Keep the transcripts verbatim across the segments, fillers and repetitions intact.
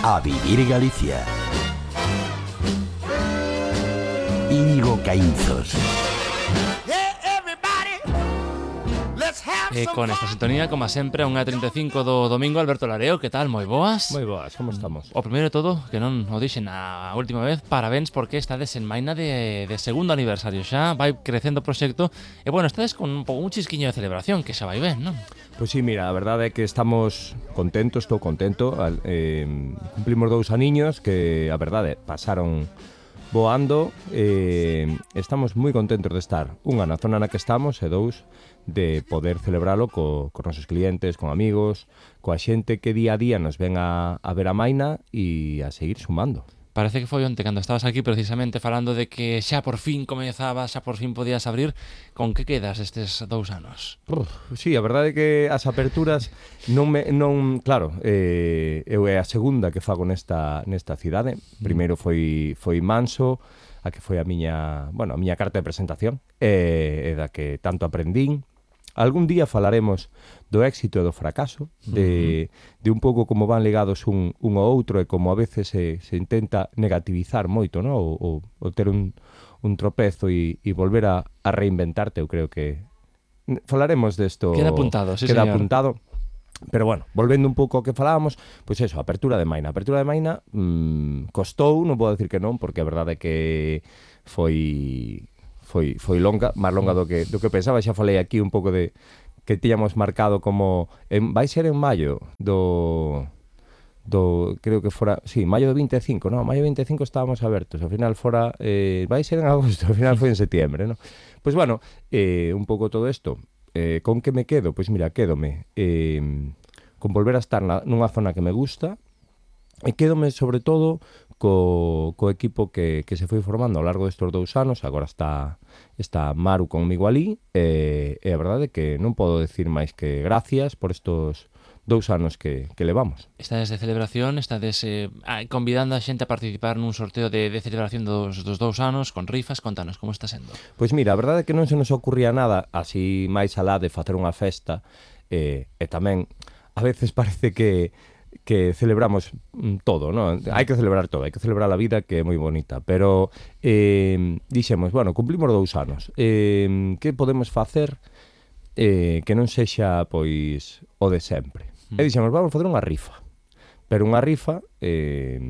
A vivir Galicia. Íñigo Caínzos. E con esta sintonía, como sempre, unha trinta e cinco do domingo, Alberto Lareo, que tal? Moi boas? Moi boas, como estamos? O primeiro de todo, que non o dixen a última vez, parabéns porque estades en Maina de, de segundo aniversario xa, vai crecendo o proxecto, e bueno, estades con un, un chisquiño de celebración, que xa vai ben, non? Pois sí, mira, a verdade é que estamos contentos, estou contento, eh, cumplimos dous aniños que, a verdade, pasaron voando, eh, estamos moi contentos de estar, unha na zona na que estamos e dous, de poder celebralo co, con nosos clientes, con amigos, coa xente que día a día nos ven a, a ver a Maina e a seguir sumando. Parece que foi onte cando estabas aquí precisamente falando de que xa por fin comezabas, xa por fin podías abrir. Con que quedas estes dous anos? Uf, sí, a verdade é que as aperturas non me non, claro, eh, eu é a segunda que fago nesta nesta cidade. Primeiro foi foi Manso, a que foi a miña, bueno, a miña carta de presentación, e, e da que tanto aprendín. Algún día falaremos do éxito e do fracaso, de, de un pouco como van ligados un, un ao outro e como a veces se, se intenta negativizar moito, ¿no? o, o, o ter un, un tropezo e, e volver a, a reinventarte. Eu creo que falaremos desto. Queda apuntado, sí, queda señor. apuntado. Pero bueno, volvendo un pouco ao que falábamos, pois eso, apertura de Maina. Apertura de Maina mmm, costou, non vou decir que non, porque a verdade é que foi... foi foi longa, máis longa do que do que pensaba. Xa falei aquí un pouco de que tiñamos marcado como en, vai ser en maio do do creo que fora, sí, maio do vinte e cinco, no, maio do vinte e cinco estábamos abertos, ao final fora eh, vai ser en agosto, ao final foi en setiembre, no. Pois bueno, eh, un pouco todo isto, eh, con que me quedo? Pois mira, quédome eh, con volver a estar na, nunha zona que me gusta, e quédome sobre todo co, co equipo que, que se foi formando ao largo destes dous anos. Agora está está Maru conmigo ali, e, e a verdade é que non podo decir máis que gracias por estos dous anos que, que levamos. Estades de celebración, estades eh, convidando a xente a participar nun sorteo de, de celebración dos, dos dous anos, con rifas. Contanos, como está sendo? Pois mira, a verdade é que non se nos ocurría nada así máis alá de facer unha festa, e, e tamén a veces parece que que celebramos todo, ¿no? Hai que celebrar todo, hai que celebrar a vida, que é moi bonita, pero eh, dixemos, bueno, cumplimos dous anos, eh, que podemos facer eh, que non sexa, pois, o de sempre? Mm. E dixemos, vamos facer unha rifa, pero unha rifa, eh,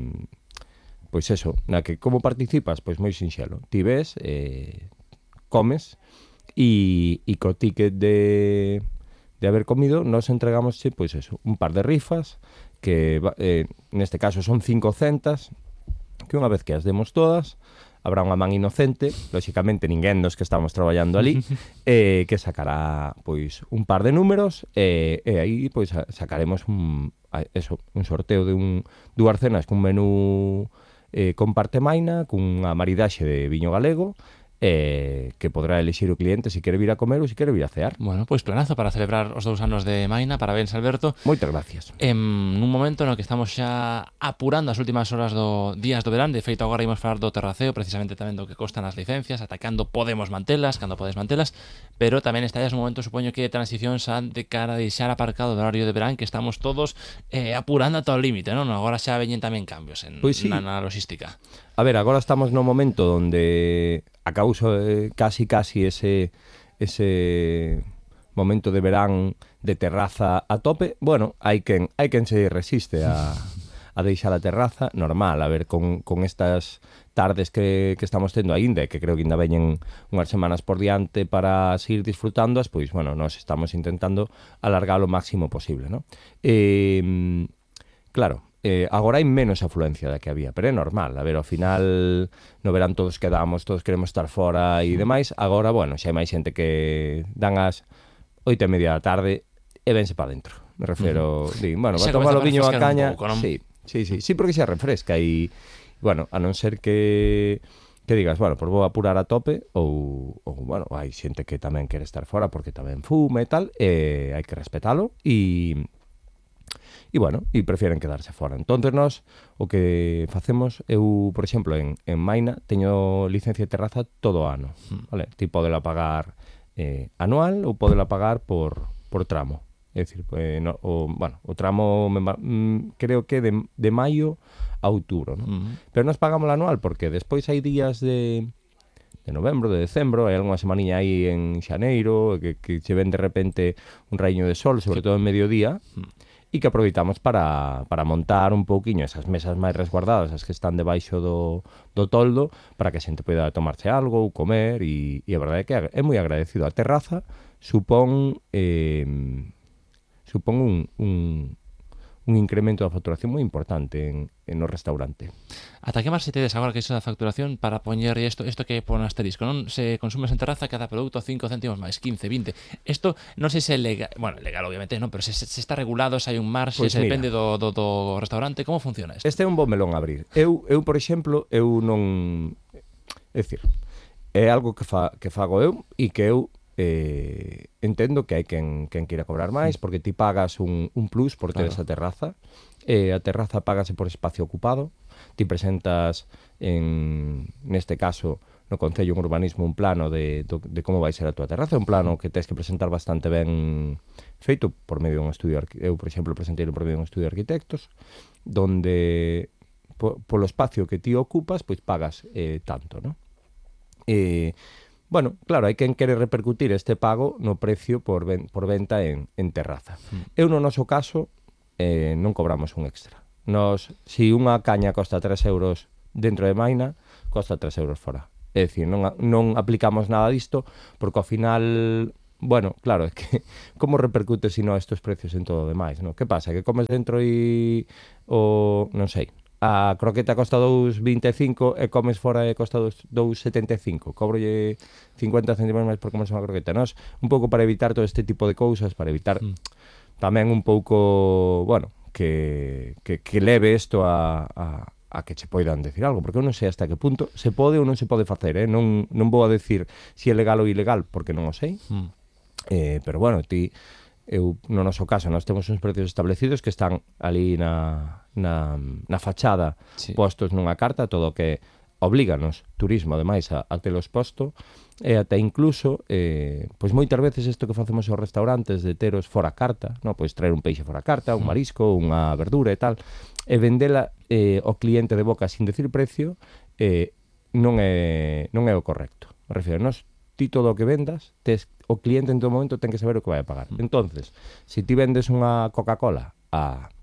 pois eso, na que como participas, pois moi sinxelo, ti ves, eh, comes, e, e co ticket de, de haber comido, nos entregamos, pois eso, un par de rifas, que eh, neste caso son cincocentas, que unha vez que as demos todas, habrá unha man inocente, lóxicamente ninguén dos que estamos traballando ali, eh, que sacará pois un par de números, e, e aí pois sacaremos un, eso, un sorteo de un dúas cenas cun menú eh, con parte Maina, cunha maridaxe de viño galego, eh, que podrá elixir o cliente se quere vir a comer ou se quere vir a cear. Bueno, pois planazo para celebrar os dous anos de Maina. Parabéns, Alberto. Moitas gracias. En un momento no que estamos xa apurando as últimas horas do días do verán, de feito agora imos falar do terraceo, precisamente tamén do que costan as licencias, ata cando podemos mantelas, cando podes mantelas, pero tamén está ya un momento, supoño que de transición xa de cara a deixar aparcado o horario de verán, que estamos todos eh, apurando ata o límite, non? Agora xa veñen tamén cambios en, pois sí. na, na logística. A ver, agora estamos no momento onde a causa eh, casi casi ese ese momento de verán de terraza a tope. Bueno, hai quen hai quen se resiste a a deixar a terraza normal, a ver, con, con estas tardes que, que estamos tendo aínda, e que creo que ainda veñen unhas semanas por diante para seguir disfrutándoas, pois, bueno, nós estamos intentando alargar o máximo posible, ¿no? Eh, claro, Eh, agora hai menos afluencia da que había, pero é normal. A ver, ao final no verán todos quedamos, todos queremos estar fora e demais. Agora, bueno, xa hai máis xente que dan as oito e media da tarde e vense para dentro. Me refiro, uh -huh. di, bueno, va a tomar o viño a caña. Pouco, ¿no? Sí, sí, sí, sí, porque xa refresca e, bueno, a non ser que que digas, bueno, pues vou apurar a tope, ou, ou bueno, hai xente que tamén quere estar fora porque tamén fume e tal, e hai que respetalo e e bueno, e prefieren quedarse fora. Entonces nós o que facemos, eu, por exemplo, en, en Maina teño licencia de terraza todo o ano, vale? Ti podela pagar eh, anual ou podela pagar por, por tramo. É dicir, pues, no, o, bueno, o tramo mm, creo que de, de maio a outubro, ¿no? Uh-huh. Pero nos pagamos la anual porque despois hai días de de novembro, de decembro, hai algunha semaniña aí en xaneiro que, que se ven de repente un raíño de sol, sobre todo en mediodía, uh-huh. e que aproveitamos para, para montar un pouquiño esas mesas máis resguardadas, as que están debaixo do, do toldo, para que a xente poida tomarse algo ou comer, e, e a verdade é que é moi agradecido. A terraza supón eh, supón un, un, un incremento da facturación moi importante en, en no restaurante. Ata que máis se tedes agora que iso da facturación para poñer isto, isto que pon asterisco, non? Se consumes en terraza cada produto cinco céntimos máis, quince, vinte. Isto non sei se é legal, bueno, legal obviamente, non, pero se, se está regulado, se hai un marxe, pues se mira, depende do, do, do restaurante, como funciona isto? Este é un bon melón a abrir. Eu, eu por exemplo, eu non... É dicir, é algo que, fa, que fago eu e que eu Eh, entendo que hai quen, quen queira cobrar máis porque ti pagas un, un plus por ter claro. Esa terraza, eh, a terraza págase por espacio ocupado, ti presentas en, neste caso no Concello en Urbanismo un plano de, de, de como vai ser a tua terraza, un plano que tens que presentar bastante ben feito por medio dun estudio, eu por exemplo presentei por medio dun estudio de arquitectos donde po, polo espacio que ti ocupas pois pagas eh, tanto, non? E eh, bueno, claro, hai quen quere repercutir este pago no precio por, ven, por venta en, en terraza. Mm. Eu no noso caso eh, non cobramos un extra. Nos, si unha caña costa tres euros dentro de Maina, costa tres euros fora. É dicir, non, non aplicamos nada disto, porque ao final, bueno, claro, é que como repercute si no estes precios en todo o demais, non? Que pasa? Que comes dentro e o, non sei, a croqueta costa dous vinte e cinco e comes fora e costa dous setenta e cinco. Cobrolle cincuenta céntimos máis por comerse unha croqueta. Nos, un pouco para evitar todo este tipo de cousas, para evitar mm. tamén un pouco, bueno, que, que, que leve isto a, a, a que che poidan decir algo, porque eu non sei hasta que punto se pode ou non se pode facer, eh? non, non vou a decir si é legal ou ilegal, porque non o sei, mm. eh, pero bueno, ti... Eu, no noso caso, nós temos uns precios establecidos que están ali na, na, na fachada sí. postos nunha carta, todo o que oblíganos turismo, ademais, a, a telos posto, e até incluso, eh, pois moitas veces isto que facemos aos restaurantes de teros fora carta, no? Pois traer un peixe fora carta, un marisco, unha verdura e tal, e vendela eh, ao cliente de boca sin decir precio, eh, non é non é o correcto. Me refiro, nós ti todo o que vendas, tes, o cliente en todo momento ten que saber o que vai a pagar. Entonces, se ti vendes unha Coca-Cola a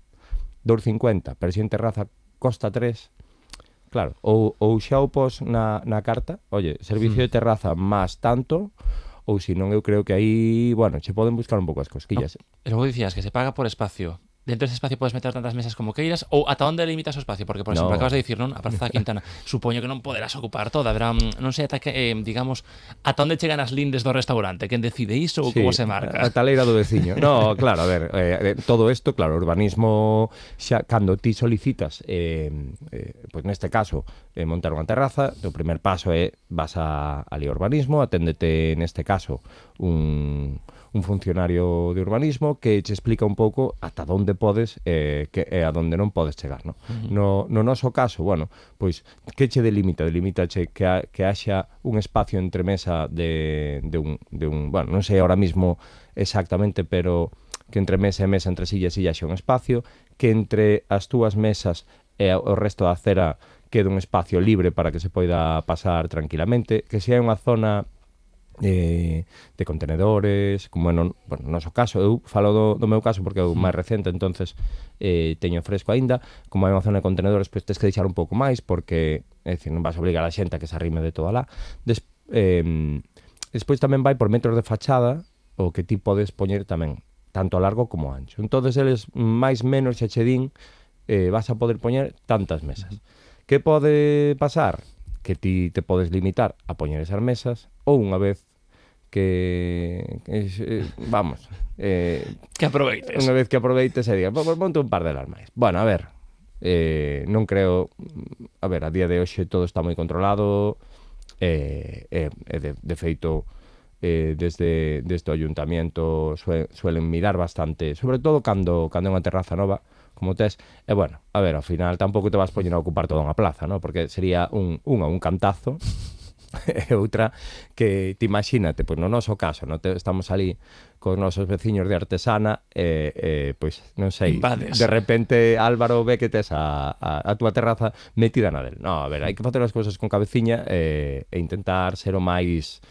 dous cincuenta, pero se en terraza costa tres, claro, ou, ou xa o pos na, na carta, oye, servicio mm. de terraza máis tanto, ou se non, eu creo que aí, bueno, che poden buscar un pouco as cosquillas. No, e logo dicías que se paga por espacio. Dentro dese espacio podes meter tantas mesas como queiras ou ata onde limitas o espacio? Porque, por exemplo, no. acabas de dicir, non? A Praza da Quintana, supoño que non poderás ocupar toda, verá, non sei ata que, eh, digamos, ata onde chegan as lindes do restaurante, quen decide iso ou sí, como se marca? A taleira do veciño. No, claro, a ver, eh, todo isto, claro, o urbanismo xa cando ti solicitas, eh, eh, pois neste caso, eh, montar unha terraza, o primer paso é vas a ali urbanismo, aténdete neste caso un un funcionario de urbanismo que che explica un pouco ata onde podes e eh, que e a onde non podes chegar, no? Uh-huh. No, no noso caso, bueno, pois que che delimita? Delimítache que ha, que haxa un espacio entre mesa de, de, un, de un, bueno, non sei ahora mismo exactamente, pero que entre mesa e mesa, entre silla e silla haxa un espacio, que entre as túas mesas e o resto da acera quede un espacio libre para que se poida pasar tranquilamente, que se hai unha zona Eh, de contenedores, como no, bueno, no noso caso, eu falo do, do meu caso porque é o máis recente, entonces eh, teño fresco aínda, como hai unha zona de contenedores, pois pues, tens que deixar un pouco máis porque, é dicir, non vas a obligar a xente a que se arrime de todo alá. Des, eh, despois tamén vai por metros de fachada o que ti podes poñer tamén, tanto a largo como a ancho. Entonces eles máis menos xa che din eh, vas a poder poñer tantas mesas. Que pode pasar? Que ti te podes limitar a poñer esas mesas ou unha vez que, que eh, vamos eh, que aproveites unha vez que aproveites e digas, pues, ponte un par de las máis. Bueno, a ver, eh, non creo, a ver, a día de hoxe todo está moi controlado e eh, eh, de, de feito eh, desde, desde o ayuntamiento sue, suelen mirar bastante, sobre todo cando, cando é unha terraza nova como tes, e bueno, a ver, ao final tampouco te vas poñer a ocupar toda unha plaza, ¿no? Porque sería un, un, un cantazo E outra que te imagínate, pois no noso caso, no te, estamos ali cos nosos veciños de artesana e, eh, pois non sei, Invades. de repente Álvaro ve que tes a, a, a túa terraza metida na del. No, a ver, hai que facer as cousas con cabeciña e, e intentar ser o máis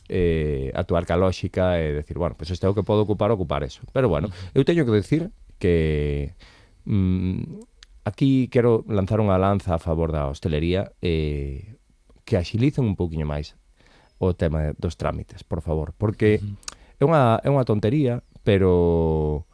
eh, actuar ca lógica e decir, bueno, pois pues este é o que podo ocupar, ocupar eso. Pero bueno, eu teño que decir que mm, aquí quero lanzar unha lanza a favor da hostelería e eh, que axilicen un pouquiño máis o tema dos trámites, por favor, porque uh-huh. é unha é unha tontería, pero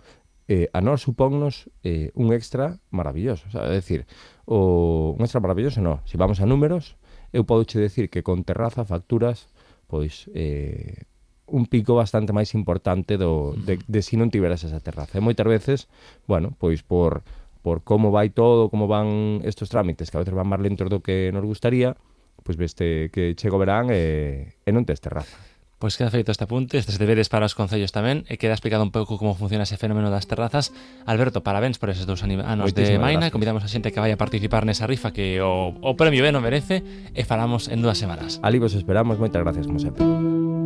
eh, a nós supónnos eh, un extra maravilloso, o sea, é dicir, o un extra maravilloso, non, se vamos a números, eu podo che decir que con terraza facturas pois eh, un pico bastante máis importante do, de, de si non tiveras esa terraza. E moitas veces, bueno, pois por, por como vai todo, como van estos trámites, que a veces van máis lentos do que nos gustaría, pois veste que chega o verán e, e non tes terraza. Pois queda feito este apunte, estes deberes para os concellos tamén, e queda explicado un pouco como funciona ese fenómeno das terrazas. Alberto, parabéns por eses dous anos de Maina, gracias. Convidamos a xente que vai a participar nesa rifa que o, o premio ben o merece, e falamos en dúas semanas. Ali vos esperamos, moitas gracias como sempre.